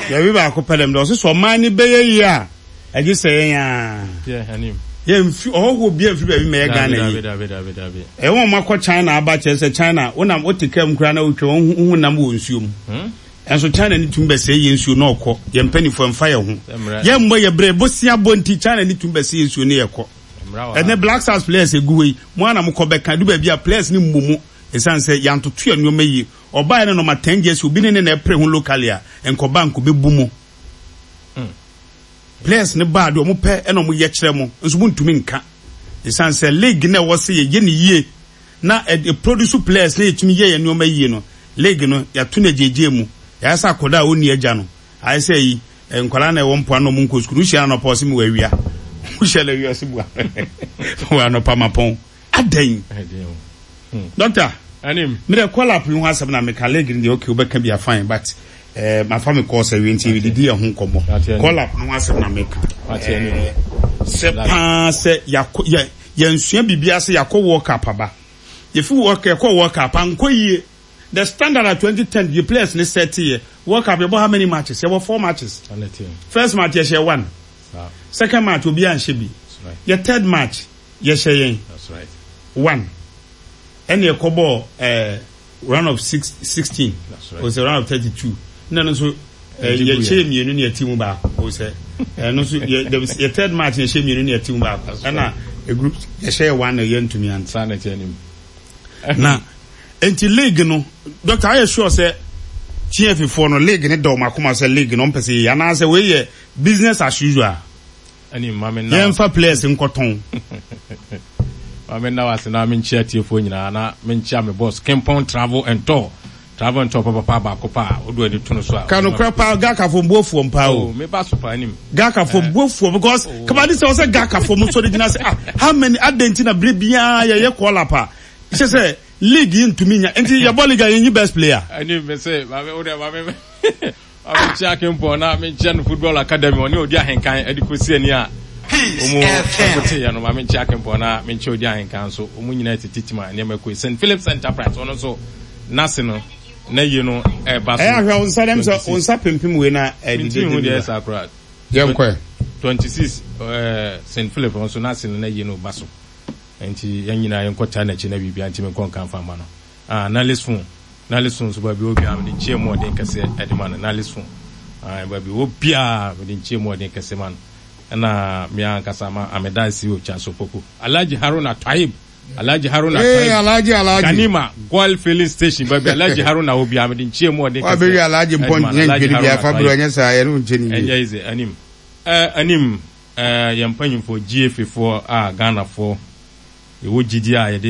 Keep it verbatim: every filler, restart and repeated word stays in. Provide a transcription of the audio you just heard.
Yɛbi baako pɛ dɛm dɛ ɔsɛ sɛ ɔman ne bɛyɛ yie a, ɛgye sɛ yɛn a yɛmfi ɔhɔhoɔ bi amfi baabi ma yɛ Ghana yi. Ɛwɔ wɔn akɔ China aba kyerɛ sɛ China wonam wote kaa mu koraa na wotwa wɔn ho nam wɔ nsuo mu. Ɛnso China ne tumi bɛsɛe yɛn nsuo na ɔkɔ. Yɛn mpanimfoɔ mfa yɛn ho. Yɛn mmɔ yɛ brɛ bosia bɔ nti China ne tumi bɛsɛe yɛn nsuo ne yɛkɔ. Ɛnɛ Black Stars players egu hɔ yi, mo ara na mokɔ bɛka du baabi a players ne mmɔ mu ɛsiane sɛ yɛantoto yɛn nneɛma yie. Ɔbaa yɛ no nɔma ten jersey, obi ne ne na ɛpere ho locally a, nkɔba nkɔbɛbu mu. Players ne baa deɛ ɔmo pɛ ɛna ɔmo yɛ kyerɛ mo nso mo ntumi nka ɛsiane sɛ league na ɛwɔ sɛ yɛyɛ ne yie na ɛ produce players na yɛtumi yɛ yɛn nneɛma yie no, league no yɛato no agyegye mu. Yɛayɛ sɛ akɔda a ɔnni agya no, ayɛ sɛ yi nkwadaa na ɛwɔ mpoano na ɔmo nkɔ sukuu. Wohyia no anɔpa, ɔse mewɔ awia. Wohyia no awia, ɔse mewɔ anɔpa mapɔn adɛn. Doctor, mede call up yi ho asɛm na meka. League no deɛ, okay, wobɛka bi a, fine, but eh, mafa me kɔɔ sɛ wie nti yɛdidi yɛ ho nkɔmmɔ. Call up no ho asɛm na meka eh, sɛ paa sɛ yɛakɔ yɛ yɛnsua biribiara sɛ yɛakɔ World Cup aba, yɛfi World yɛkɔ World Cup ankɔ yie. The standard at twenty ten, the players ne set yɛ World Cup, yɛbɔ how many matches? Yɛbɔ four matches. First match yɛhyɛ one, second match obi anhyɛ bi, yɛ third match yɛhyɛ yɛn one, ɛna yɛkɔbɔ ɛɛ round of six sixteen o sɛ round of thirty two, ɛna no nso ɛɛ yɛhyɛ mmienu ne yɛti mu baako o sɛ ɛno nso yɛ yɛ third match yɛhyɛ mmienu ne yɛti mu baako, ɛna group yɛhyɛ yɛ one na yɛntumi ante. Na nti league no, doctor, ayɛ sure sɛ G F A foɔ no, league ne da ɔmo akoma sɛ league no ɔmpɛ sɛ yɛ anaasɛ wei yɛ business as usual, yɛmfa players nkɔtɔn? Maame, nna wase na menkyia tiefoɔ nyinaa na menkyia me boss Kempɔn Travel and Tour, Travel and Tour papapa baako pa a wode w'ani to no so a. Ka nokorɛ paa, Gakafo mbuofoɔ mpaa o. Meba so paa anim. Gakafo mbuofoɔ because kabade sɛ ɔsɛ Gakafo mo sɔre gyina sɛ, ah, how many adɛn nti na bere biara yɛyɛ call up a kyɛ sɛ league yi ntumi nya nti yɛbɔ league a yɛnyi best player? Anim me sɛ maame wode maame maame nkyia Kempɔn na menkyia no football academy ɔne odi ahenkan ɛde kɔsi ani a ɔmu ɛkote yɛ no. Maame, nkyia Kempɔn na menkyia odi ahenkan nso, ɔmu nyinaa tete tim a nneɛma kɔ. Saint Phillips Enterprise, ɔno nso n'ase no na yie no ɛba so. Ɛyɛ ahwɛ wo nsa dɛm sɛ wo nsa pimpim wei na ɛdidi. Mentumi hu deɛ ɛsa koraa. Yɛnkɔ. Twenty six, ɛɛ Saint Philip nso n'ase no na yie no ba so, nti yɛn nyinaa yɛnkɔ taa n'akyi na biribia ntumi nkɔ nka nfa ma no. Ah, Nalis phone, Nalis phone nso, baabi obiara mede nkyɛn mu ɔden kɛseɛ ɛde ma no. Nalis phone, ah, baabi obiara mede nkyɛn mu ɔden kɛseɛ ma no. Ɛna mmea ankasa ma ameda si otwa so popo Alhaji Haruna Taib, Alhaji Haruna Hey, Taib. Alhaji, Alhaji. Ganima Goil Filling Station, baabi Alhaji Haruna obiara mede nkyɛn mu ɔden kɛseɛ wabɛwi Alhaji mpɔn ɛde ma no. nyɛ Alhaji ntwene bi Haruna afa Taib. berɛ ɔnyɛ saa yɛne wo nkyɛ ne yie. Ɛnyɛ easy anim ɛɛ anim ɛɛ yɛn mpanyinfoɔ G F A foɔ a Ghanafoɔ yɛwɔ gyidi a yɛde